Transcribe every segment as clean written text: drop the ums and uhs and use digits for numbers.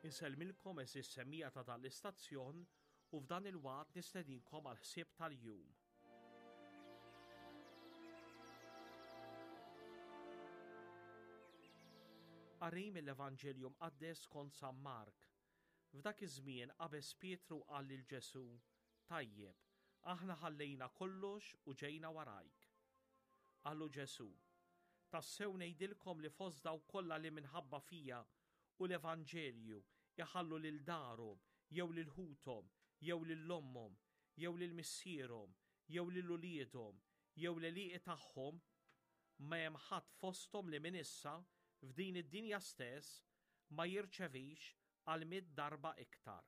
Insellmilkom għeżież semmiegħa ta' dan l-istazzjon u f'dan il-waqt nistedinkom għal ħsieb tal-jum. Qari mill-Evanġelju Mqaddes skont San Mark. F'dak iż-żmien qabeż Pietru u qal lil Ġesù, Tajjeb, aħna ħallejna kollox u ġejna warajk. Qallu Ġesù, Tassew ngħidilkom li fost dawk kollha li minħabba fija u l-evanġelju jħallu lil darhom jew lil ħuthom jew lil ommhom jew lil missierhom jew lil uliedhom jew l-għelieqi tagħhom, ma hemm ħadd fosthom li minn issa, f'din id-dinja stess, ma jirċevix għal mitt darba iktar,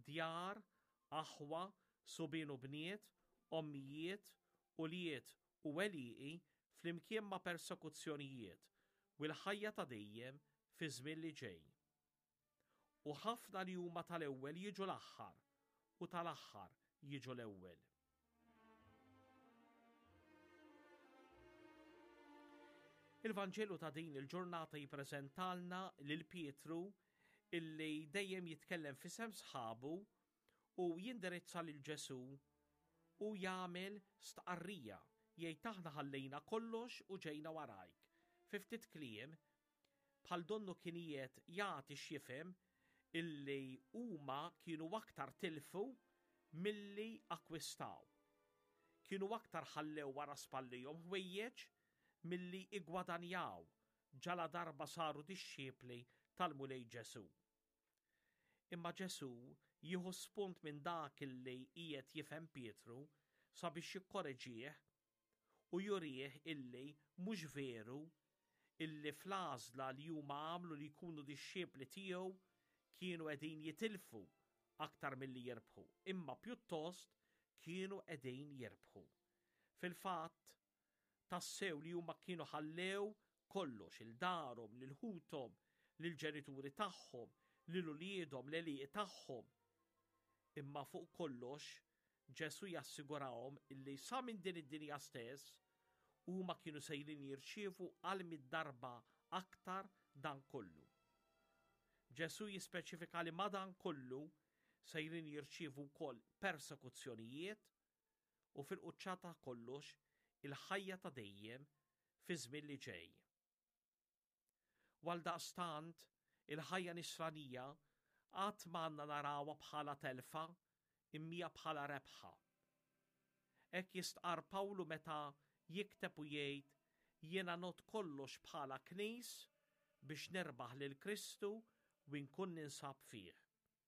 djar, aħwa, subien u bniet, ommijiet, ulied u għelieqi flimkien ma' persekuzzjonijiet u l-ħajja ta' dejjem fiż-żmien li ġej. U ħafna li huma tal-ewwel jiġu l-aħħar, u tal-aħħar jiġu l-ewwel. Il-Vanġelu ta' din il-ġurnata jippreżentalna lil Pietru illi dejjem jitkellem f'isem sħabu u jindirizza lil Ġesù u jagħmel stqarrija jgħid aħna ħallejna kollox u ġejna warajk. Fi ftit kliem, bħal donnu kien qiegħed jagħti x'jifhem illi huma kienu aktar tilfu milli akkwistaw. Kienu aktar ħallew wara spallihom ħwejjeġ milli iggwadanjaw ġaladarba saru dixxipli tal-Mulej Ġesù. Imma Ġesù jieħu spunt minn dak li qiegħed jifhem Pietru sabiex jikkoreġih u jurih illi mhux veru illi fl-għażla li huma għamlu li jkunu dixxipli tiegħu kienu qegħdin jitilfu aktar milli jirbħu, imma pjuttost kienu qegħdin jirbħu. Fil-fatt, Tassew li huma kienu ħallew kollox, 'il darhom, lil ħuthom, lill-ġenituri tagħhom, lil uliedhom, l-għelieqi tagħhom. Imma fuq kollox, Ġesù jassigurahom illi sa minn din id-dinja stess, huma kienu sejrin jirċievu għal mitt darba aktar dan kollu. Ġesù jispeċifika li ma' dan kollu sejrin jirċievu wkoll persekuzzjonijiet, u fil-quċċata ta' kollox il-ħajja ta' dejjem fiż-żmien li ġej. U għaldaqstant, il-ħajja nisranija qatt ma għandna narawha bħala telfa immija bħala rebħa. Hekk jistqarr Pawlu meta jikteb u jgħid jiena ngħodd kollox bħala knis biex nirbaħ lil Kristu u nkun ninsab fih.